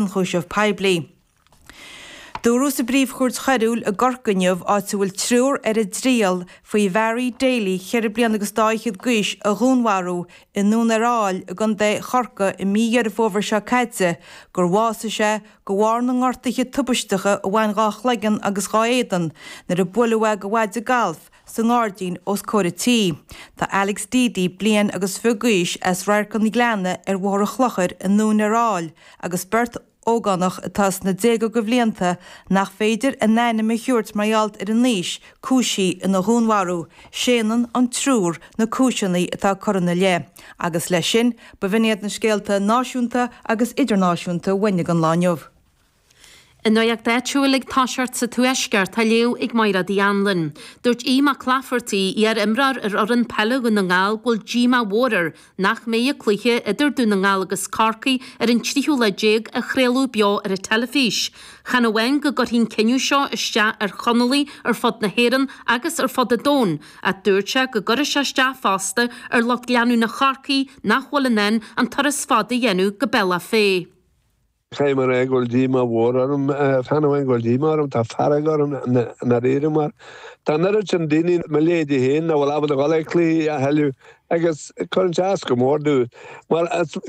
Ionchúiseamh Poiblí. Dúradh sa bPríomh-Chúirt Choiriúil i gCorcaigh inniu, áit a bhfuil triúr ar a dtriail faoi Bharry Daly, cheithre bliana agus dá fhichead d'aois, a dhúnmharú i nDún ar Aill i gContae Chorcaí i mí Dheireadh Fómhair seo caite, gur bhásaigh sé de bharr na ngortuithe tubaisteacha a bhain dhá chloigeann agus dhá éadan nuair a buaileadh é de mhaide gailf sa ngairdín os comhair a tí. Tá Alex Deady, bliain agus 20 d'aois, as Radharc an Ghleanna ar Bhóthar an Chlochair i nDún ar Aill agus beirt ógánach atá sna déaga de bhlianta nach féidir a n-ainm a thabhairt mar gheall ar a n-aois, cúisithe ina dhúnmharú. Séanann an triúr na cúiseanna atá curtha ina leith. Agus leis sin, b'in iad na scéalta náisiúnta agus idirnáisiúnta uainn don lá inniu. An nuacht áitiúil ag toiseacht sa Tuaisceart á léamh ag Mairéad Uí Anluain. Dúirt Aodh Mac Laifeartaigh, iar-imreoir ar fhoireann peile Dhún na nGall go bhfuil díomá mhór air nach mbeidh an cluiche idir Dún na nGall agus Corcaigh ar an tríú lá déag á chraoladh beo ar an teilifís. Chan amháin go gcuirfidh an cinneadh seo isteach ar Chonallaigh ar fud na hÉireann agus ar fud an domhain ach dúirt sé go gcuirfidh sé isteach fosta ar lucht leanúna Chorcaí nach bhfuil in ann an turas fada a dhéanamh go Bealach Féich. Caithfidh mé a rá go bhfuil díomá mhór orm, chan amháin go bhfuil díomá orm, tá fearg orm i ndáiríre mar tá an oiread sin daoine, mo leithéidí féin, nach bhfuil ábalta dhul ag cluichí a thuilleadh agus cuireann sé as go mór domh. Mar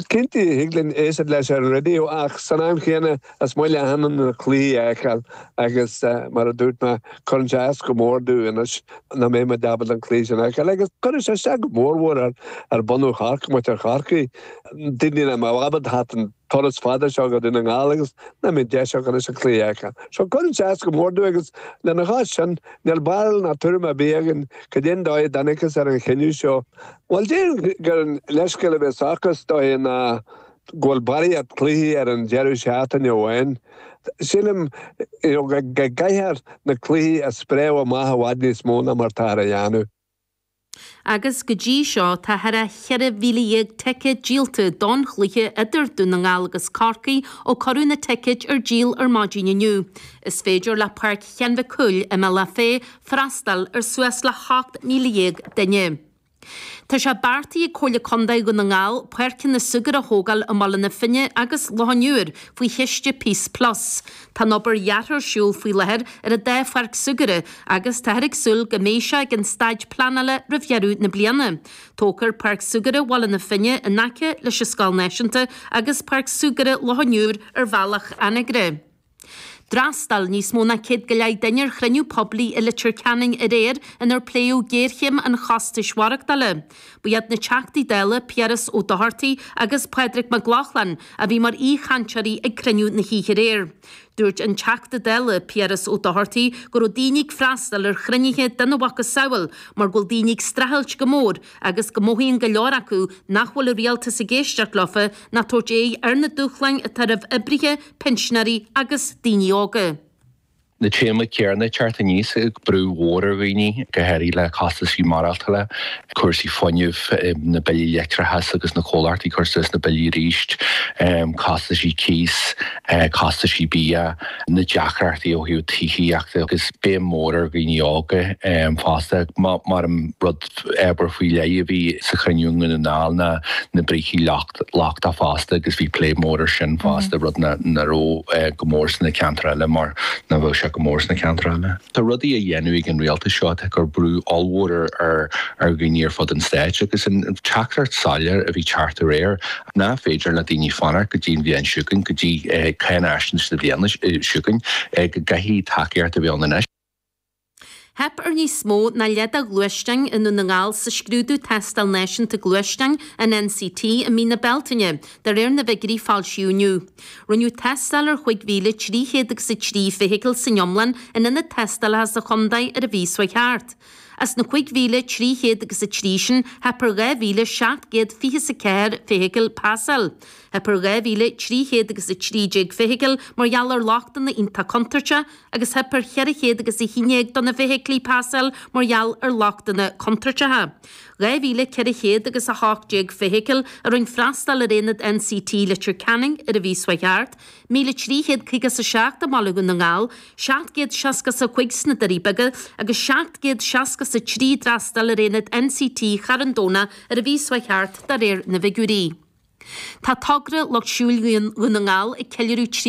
cinnte thig linn éisteacht leis ar an raidió ach san am chéanna is maith le achan duine na cluichí a fheiceáil agus mar a dúirt mé cuireann sé as go mór domh anois nach mbeidh muid ábalta an cluiche sin a fheiceáil agus cuireann sé isteach go mórmhór ar bunadh Chorcaí, muintir Chorcaí, daoine nach mbeadh ábalta theacht an turas fada seo go Dún na nGall agus nach mbeidh deis acu anois an cluiche a fheiceáil. So cuireann sé as go mór domh agus lena chois sin, níl barúil ná tuairim ar bith againn cad é an dóigh a dtángthas ar an chinneadh seo. Bhuel, déarfainn gur an leithscéal a bheas acu is dóiche ná go bhfuil barraíocht cluichí ar an deireadh seachtaine amháin. Sílim you know go gcaithfear na cluichí a spréadh amach i bhfad níos mó ná mar táthar a dhéanamh. Agus go dtí seo tá thar a 14,000 ticéad díolta don chluiche idir Dún na nGall agus Corcaigh ó cuireadh na ticéid ar díol ar maidin inniu. Is féidir le Páirc Sheáin Mhic Cumhaill i mBealach Féich freastal ar suas le 18,000 duine. Tá sé beartaithe ag Comhairle Contae Dhún na nGall páirceanna súgartha a thógáil i mBaile na Finne agus Loch an Iúir faoi chiste Peace Plus. Tá an obair dheartha ar siúl faoi láthair ar an dá pháirc súgartha agus táthar ag súil go mbeidh sé ag an staid pleanála roimh dheireadh na bliana. Tógfar Páirc Súgartha Bhaile na Finne in aice leis an Scoil Náisiúnta agus Páirc Súgartha Loch an Iúir ar Bhealach Anagaire. D'fhreastail níos mó ná 100 go leith duine ar chruinniú poiblí i Leitir Ceanainn aréir inar pléadh géarchéim an chostais mhaireachtála. Ba iad na Teachtaí Dála Piaras Ó Dochartaigh agus Pádraig Mac Lochlainn a bhí mar aoichainteoirí ag cruinniú na hoíche aréir. Dúirt an Teachta Dála Piaras Ó Dochartaigh go raibh daoine ag freastal ar chruinnithe dena mhacasamhail mar go bhfuil daoine ag streachailt go mór agus go mothaíonn go leor acu nach bhfuil an rialtas ag éisteacht leofa ná tabhairt aghaidh ar na dúshláin atá roimh oibrithe, pinsinéirí agus daoine óga. na téamaí céanna ag teacht aníos, brú mhór ar dhaoine, go háirithe le costaisí maireachtála, cúrsaí fuinnimh, na billí leictreachais agus na comhlachtaí ag cur suas na billí arís, costaisí cíos, costaisí bia, na deacrachtaí ó thaobh tithíochta agus béim mhór ar dhaoine óga fosta. Mar an rud ábhar faoi leith a bhí sa chruinniú i nDún na nGall ná na brící lochtacha fosta agus bhí plé mór ar sin fosta, rud nach raibh go mór sna ceantair eile mar nach bheadh sé go mór sna ceantair eile. Tá rudaí á dhéanamh ag an rialtas seo atá ag cur brú ollmhór ar dhaoine ar fud an stáit agus an teachtaireacht soiléir a bhí ag teacht aréir nach féidir le daoine fanacht go dtí an bhliain seo chugainn, go dtí cáinaisnéis na bliana seo chugainn, go gcaithfidh tacaíocht a bheith ann anois. Theip ar níos mó ná leath de ghluaisteáin i nDún na nGall sa scrúdú Tástáil Náisiúnta Gluaisteáin, an NCT, i mí na Bealtaine, de réir na bhfigiúirí a foilsíodh inniu. Rinneadh tástáil ar 5,300 agus 3 feithicil san iomlán in ionad tástálacha sa chontae ar an mhí seo thart. As na 5,300 agus 3 sin, theip ar 2,724 feithicil pasáil. Theip ar 2,300 agus 13 feithicil mar gheall ar lochtanna iontach contúirteach agus theip ar 400 agus 11 de na feithiclí pasáil mar gheall ar lochtanna contúirteacha. 2,400 agus 18 feithicil a rinne freastal ar aonad NCT Leitir Ceanainn ar an mhí seo thart, 1,357 i mBaile Dhún na nGall, 765 sna Doirí Beaga agus 763 d'fhreastail ar aonad NCT Charn Domhnach ar an mhí seo thart de réir na bhfigiúirí. Tá togra Lucht Siúil Dhún na nGall ag ceiliúradh 30.